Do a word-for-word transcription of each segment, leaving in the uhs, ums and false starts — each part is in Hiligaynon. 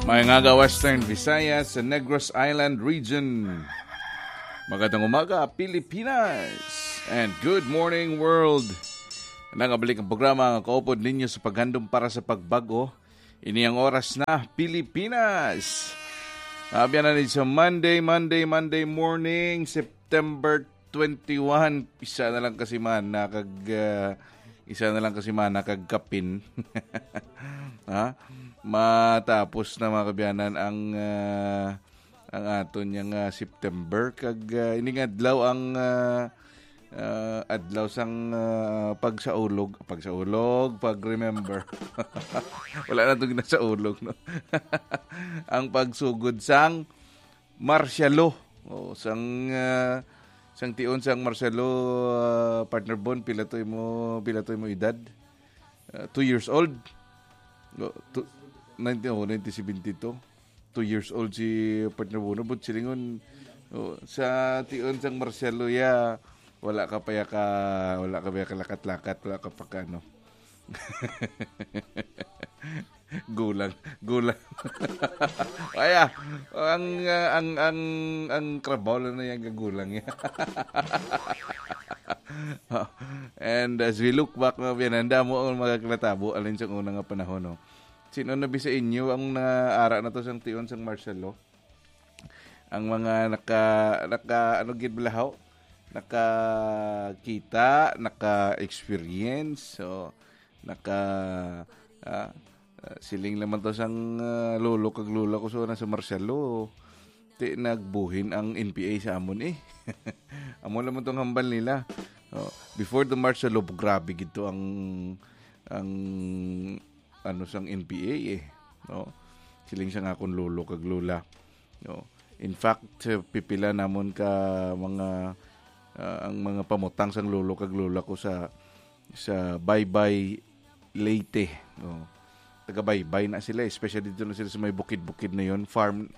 May nga Western Visayas sa Negros Island Region. Magandang umaga, Pilipinas. And good morning, world. Nangabalik ang programa nga kaupod ninyo sa paghandom para sa pagbago. Ini ang oras na, Pilipinas. Abyan na ni sa Monday, Monday, Monday morning, September twenty-one. Isa na lang kasi man, nakag, ah, isa na lang kasi man, nakagkapin. Ha? Matapos na, mga kabyanan, ang, ah, ang aton yang, ah, September. Kag, ah, ini nga adlaw ang, ah, ah, adlaw sang, ah, pagsaulog, pagsaulog, pag-remember. Wala na itong nasaulog, no? Ang pagsugod sang martial law. O, sang, ah, sang tion sang martial law, ah, partner Bon, pila to imo, pila to imo edad? Ah, two years old? O, two, nineteen, oh, nineteen seventy-two. Two years old si partner Bon. But silingon, oh, sa tion sang martial law, ya, wala ka pa ya ka, wala ka pa ya kalakat-lakat, wala ka pa ka, ano. Gulang, gulang. Ay, ah, ang, ah, ang, ang, ang trabaho lang na yan, gagulang yan. And as we look back, mga biyanan, damo ang mga kinatabo, alin sa una nga panahon, no? Sino na bi sa inyo ang naara na to sang tion sang martial law? Ang mga naka, naka, ano gid balahaw? Nakakita, naka-experience, so, naka, ah, ah, siling naman to sang, ah, lolo kag lola ko, so, nasa martial law. Ti nagbuhin ang N P A sa amon, eh. Amo naman tong hambal nila. Oh, before the martial law, grabe gid to ang, ang, ano, sang N P A, eh. No? Siling sang akon lolo kag lola. No? In fact, eh, pipila namon ka mga, ah, ang mga pamutang sang lolo kag lola ko sa, sa Baybay, Leyte. No? Taga Baybay na sila, especially dito na sila sa may bukid-bukid na yon, farm.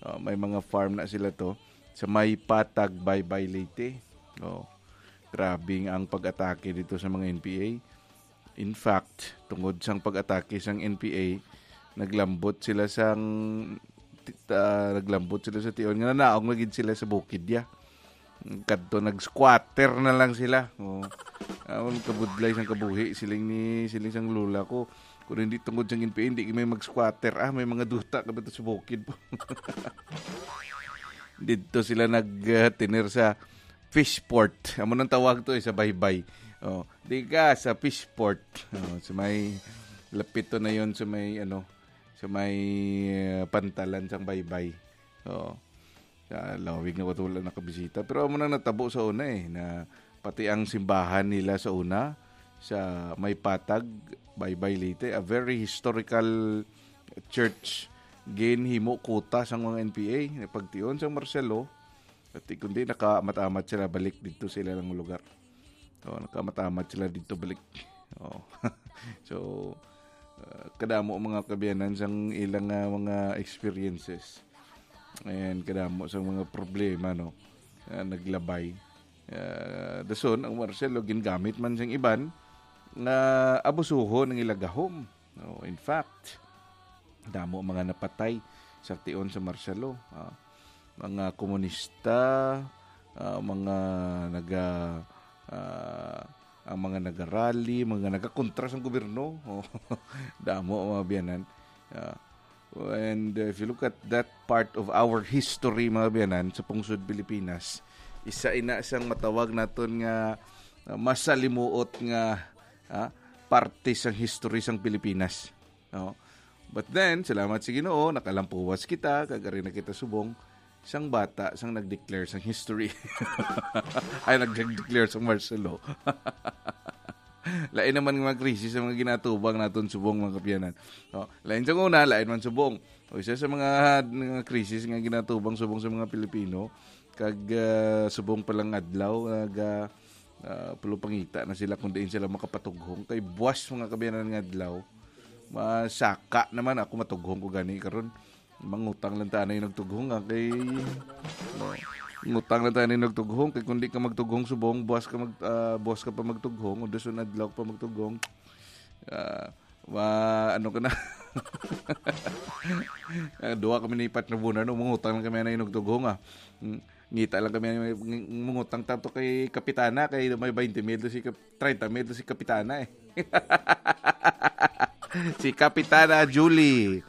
Ah, may mga farm na sila to. Sa may Patag, Baybay, Leyte. Oh, grabe ang pag-atake dito sa mga N P A. In fact, tungod sang pag-atake sang N P A, naglambot sila sang, ti-, ah, naglambot sila sa tion nga nanaog na gid sila sa bukid ya. Kadto nag-squatter na lang sila. Oh. Ang kabudlay sang kabuhi, siling ni, siling sang lola ko. Kung hindi tungod sang N P A, hindi may mag-squatter. Ah, may mga duta ka ba to sa bukid po? Dito sila nag, ah, tiner sa Fishport. Amo nang tawag to, eh, sa Baybay. Oh, di ka sa Fishport. Oh, sa may lapit to na yon, sa may, ano, sa may, ah, pantalan sang Baybay. Oh. Sa lawig na, wala nakabisita. Pero amo na natabo sa una, eh, na pati ang simbahan nila sa una, sa may Patag, Baybay, Leyte, a very historical church, ginhimo kuta sang mga N P A, pagtion sang martial law, at kundi nakamat-amat sila balik dito sa ilang lugar. Oh, nakamat-amat sila dito balik. Oh. So, uh, kadamo mga kabiyanan sang ilang, uh, mga experiences. And kadamo sang mga problema, no? Uh, naglabay. Uh, dason, ang martial law, gingamit man sang iban nga abusuhon ang ila gahom. No, in fact, damo mga napatay sa tion sa martial law. Ah, mga komunista, ah, mga naga, ah, ang mga nagarally, mga nagakontra sa gobyerno. Oh, damo, mga biyanan. Ah, and, uh, if you look at that part of our history, mga biyanan, sa pungsod Pilipinas, isa ina sang matawag naton nga, uh, masalimuot nga, ah, parte sang history sang Pilipinas. No? But then, salamat sa Ginoo, nakalampuwas kita, kag ari na kita subong sang bata, sang nag-declare sang history. Ay, nag-declare sang martial law. Lain naman nga mga krisis ang mga ginatubang naton subong, mga kabiyanan. No? Lain sa una, lain man subong. O isa sa mga, mga krisis nga ginatubang subong sa mga Pilipino, kag, ah, subong pa lang adlaw, nag, ah, ah, pulupangita na sila kung diin sila makapatughong. Kay buwas, mga kabiyanan, nga adlaw, masaka naman ako, matughong ko gani karon. Mangutang lang ta anay nagtughong, ah, kay, no, ngutang lang ta anay nagtughong, kay kung di ka magtughong subong, buwas ka mag-, ah, buwas ka pa magtughong, o dason adlaw ka pa magtughong. Ah, ma-, ano ka na? Ah, duha kami ni Pat na bunan, no? Mangutang lang kami na inugtughong, ah. Mm, ngita lang kami, ng-, ng-, mangutang tanto kay Kapitana, kay may twenty mil to si Kap-, thirty mil to si Kapitana, eh. Si Kapitana Julie.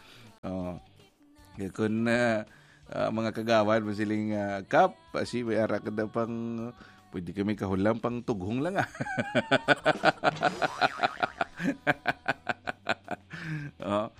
Oh. Kaya kung, ah, ah, mga kagawad, masiling, ah, "Kap, si may ara ka na pang, pwede kami kahulam pang tughong lang, ah." Oh.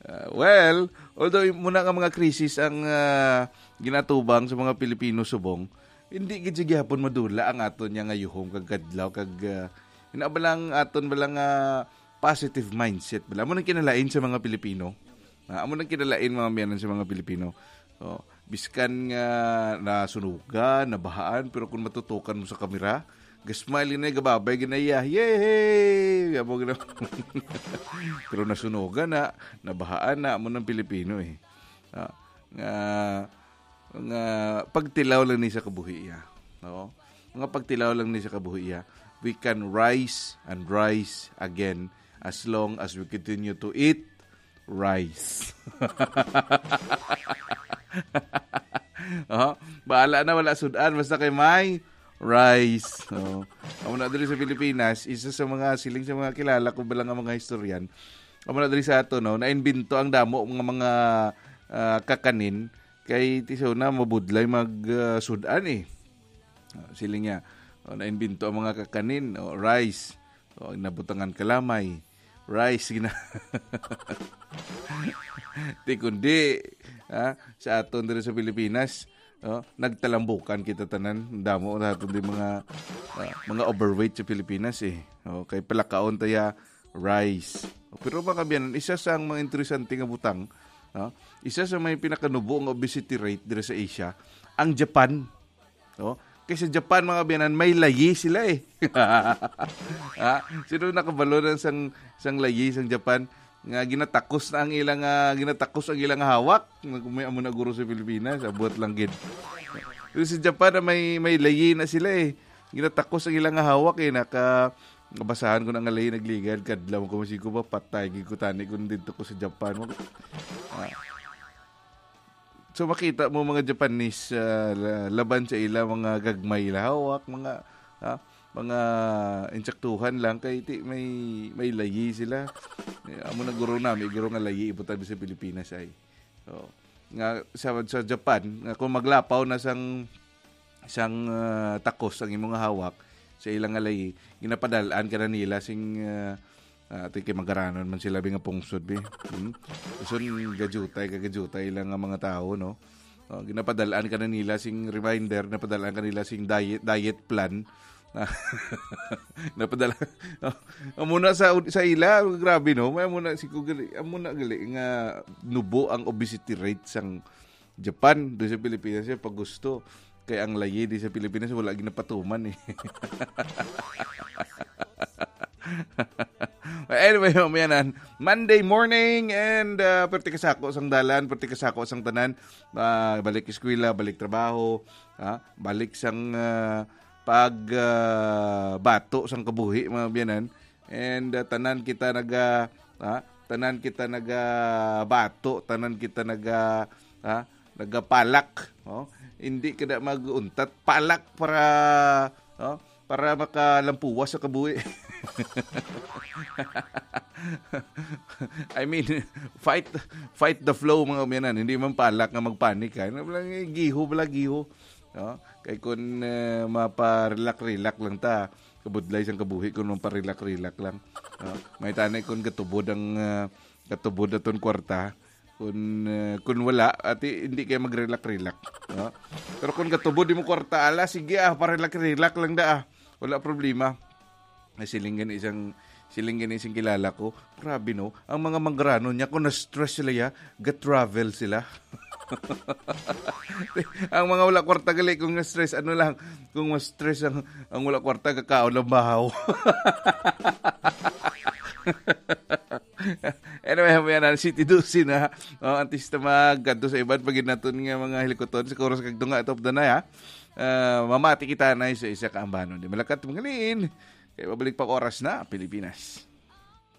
Ah, well, although muna nga mga krisis ang, ah, ginatubang sa mga Pilipino subong, hindi gid sa gihapon madula ang aton niya nga yuhom kag kadlaw kag, ah, ina ba lang aton ba lang, ah, positive mindset bala. Amo nang kinalain sa mga Pilipino. Ah, amo nang kinalain, mga miyanan, sa mga Pilipino. Oh, biskan nga nasunugan, nabahaan, pero kung matutukan mo sa kamera, gasmile na gababay ginaya. Yay! Amo gina-, pero nasunugan na, nabahaan na, amo ng Pilipino, eh. Ah, nga, nga pagtilaw lang ni sa kabuhi iya. No? Nga pagtilaw lang ni sa kabuhi iya. We can rise and rise again as long as we continue to eat rice. Oh, bahala na, wala sudan, basta kay may rice. Oh. Amo na diri sa Pilipinas, isa sa mga siling sa mga kilala ko bala nga mga historian. Amo na diri sa ato, no, naimbento ang damo nga mga, ah, kakanin kay ti sa una mabudlay mag, ah, sudan, eh. Ah, siling niya, oh, naimbento ang mga kakanin, oh, rice, oh, nabutangan kalamay, rice, gina-, ti kundi, ah, sa aton diri sa Pilipinas, oh, nagtalambukan kita tanan. Damo na aton di mga, ah, mga overweight sa Pilipinas, eh. Oh, kay palakaon taya rice. Pero, mga kaabyanan, isa sa mga interesante nga butang, ah, isa sa may pinakanubo nga obesity rate diri sa Asia, ang Japan. Oh, kay sa Japan, mga kaabyanan, may layi sila, eh. Ha? Sino nakabalo na sang, sang layi sang Japan nga ginatakos na ang ilang, ah, ginatakos ang ilang hawak? May amo na guro sa Pilipinas, abot lang gid. Pero sa Japan, ah, may, may layi na sila, eh. Ginatakos ang ilang hawak, eh. Naka-, nabasahan ko na nga layi nagligad, kadlaw ko, masig ko ba, patay gid ko tani kung dito ko sa Japan. Ah. So, makita mo mga Japanese, ah, la-, laban sa ila, mga gagmay ila hawak, mga, ah, mga insaktuhan lang kay ti-, may, may layi sila. Eh, amo na guro nami, guro nga layi ibutan sa Pilipinas ay. So, nga sa, sa Japan, nga kung maglapaw na sang, sang, ah, takos ang imong hawak sa ilang nga layi, ginapadalaan ka na nila sing, ah, ah, ti kay magaranon man sila, bi, nga pungsod, bi. Hmm? Uson gajutay ka gajutay lang nga mga tawo, no? Oh, ginapadalaan ka na nila sing reminder, napadalaan ka nila sing diet, diet plan. Napadala. Oh, amo na sa, sa ila, grabe, no? May amo na si Kugali, amo na gali nga nubo ang obesity rate sang Japan, do sa Pilipinas siya pag gusto. Kay ang layi di sa Pilipinas, wala ginapatuman, eh. Anyway, mamayanan, Monday morning and, ah, perti kasako sang dalan, perti kasako sang tanan. Ah, balik eskwela, balik trabaho, ah, balik sang, ah, pag, ah, bato sang kabuhi, mga biyanan. And, ah, tanan kita naga, ah, tanan kita naga bato, tanan kita naga, ah, nagapalak, oh. Hindi ka na mag-untat, palak para, oh, para makalampuwas sa kabuhi. I mean, fight, fight the flow, mga umianan. Hindi man palak nga magpanik, ha. Ano lang, eh, giho, bala, giho. No? Kay kun, eh, maparelak-relak lang ta, kabudlay sang kabuhi kun maparelak-relak lang. No? May tani kun gatubod ang, ah, gatubod aton kwarta. Kun, eh, kun wala, ati, hindi kay magrelak-relak. No? Pero kun gatubod di mo kwarta, ala, sige, ah, parelak-relak lang da, ah. Wala problema. Nasiling gani isang, siling gani isang kilala ko, "Grabe, no? Ang mga manggaranon niya, kung na-stress sila, ya, ga-travel sila." Ang mga wala kwarta gali, kung na-stress, ano lang, kung ma-stress ang, ang wala kwarta, kakaon lang bahaw. Anyway, yan ang City Dose na. Oh, antes na magkadto sa iban, pagin naton nga mga hilikuton, sa Kuros kag Tunga, top the night, ha? Ah, mamati kita na sa isa ka ambanon. Di malakat, mangaliin. Kaya mabalik pa oras na, Pilipinas.